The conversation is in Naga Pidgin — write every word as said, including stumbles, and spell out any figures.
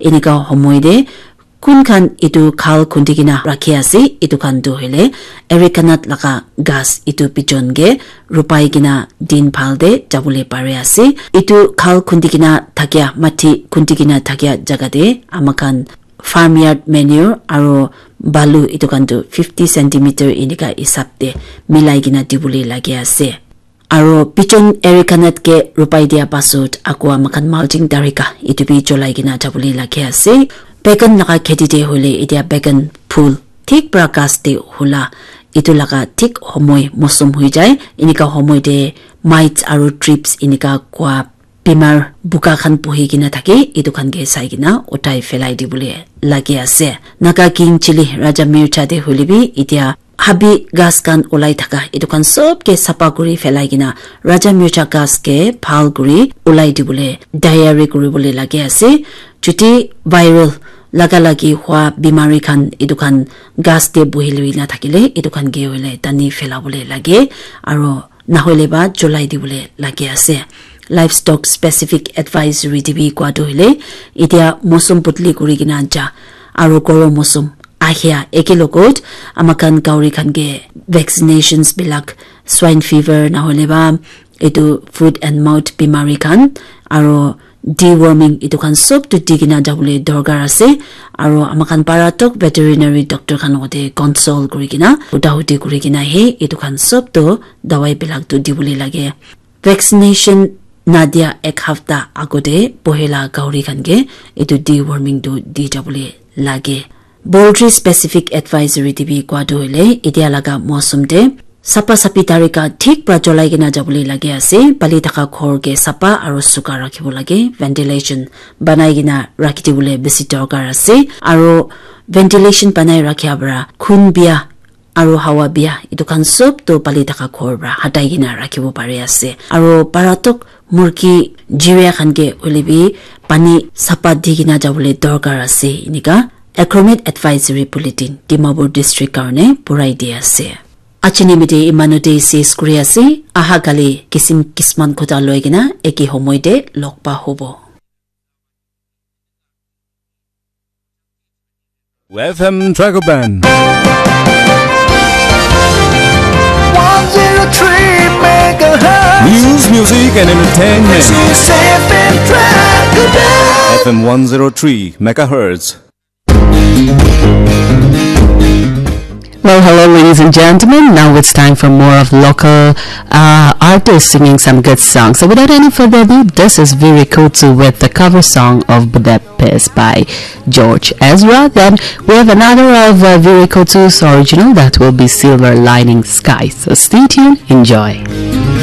Enika homoi te kun khan etu khal khundi kena rakhi ase, etu khan tu hoile arecanut laga ghas etu bijon ke rupai kena din bhal te jabole pare ase. Etu khal khundi kena thakia, mati khundi kena thakia jaga te ama khan farmyard manure aro balu etu khan tu fifty centimeter enika hisab te milai kena dibole lage ase. Aro bijon arecanut ke rupai dia pasut akwa ama khan mulching tarika etu bi cholai kena jabole lage ase. Bagan laga kheti te hoile etia bagan phul thik pra ghas te hula etu laga thik homoi mosum hoi jai. Enika homoi te mites aro thrips enika kua bimar buka khan buhi kena thake, etu khan ke sai kena uthai phelai dibole lage ase. Naga King Chili Raja Mircha te hoile bi etia habi ghas khan ulai thaka etu khan sob ke sapa kuri phelai kena Raja Mircha ghas ke bhal kuri ulai dibole tayari kuribole lage ase. Chuti viral laga lagi hua bimari khan etu khan ghas te buhi lui na thakile etu khan ke hoile tani phelabole lage aro nahoile ba cholai dibole lage ase. Livestock specific advisory te bi kua tu hoile etia mosum budli kuri kena ja aro goro mosum ahia eke logot ama khan gauri khan ke vaccinations bilak swine fever nahoile ba etu foot and mouth bimari khan aro deworming etu khan sob tu di kena jabole dorkar ase. Aro ama khan para tok veterinary doctor khan logote consult kuri kena huda hudi kuri kena he etu khan sob tu dawai bilak tu dibole lage. Vaccination nadia ek hafta agote pohela gauri khan ke etu deworming tu di jabole lage. Poultry specific advisory te bi kua tu hoile etia laga mosum te sapa sapi tarika thik pra cholai kena jabole lage ase. Pali thaka ghor ke sapa aro suka rakhibo lage. Ventilation banai kena rakhi dibole besi dorkar ase. Aro ventilation banai rakhia pra khun bia aro hawa bia etu khan sob tu pali thaka ghor pra hatai kena rakhibo pari ase. Aro para tok murgi jiria khan ke hoile bi pani sapa di kena jabole dorkar ase. Enika Acromate Advisory Bulletin Dimapur District karone purai di ase. Achini mite imanu te ses kuri ase. Aha kali kisim kisman khuta loi kena eki homoi te log pa hobo. F M Dragoban. One zero three megahertz. News, music, and entertainment. This is F M Dragoban. F M one zero three megahertz. Well, hello, ladies and gentlemen. Now it's time for more of local uh, artists singing some good songs. So, without any further ado, this is Viri Kutsu with the cover song of Budapest by George Ezra. Then we have another of uh, Viri Kutsu's original that will be Silver Lining Sky. So, stay tuned, enjoy.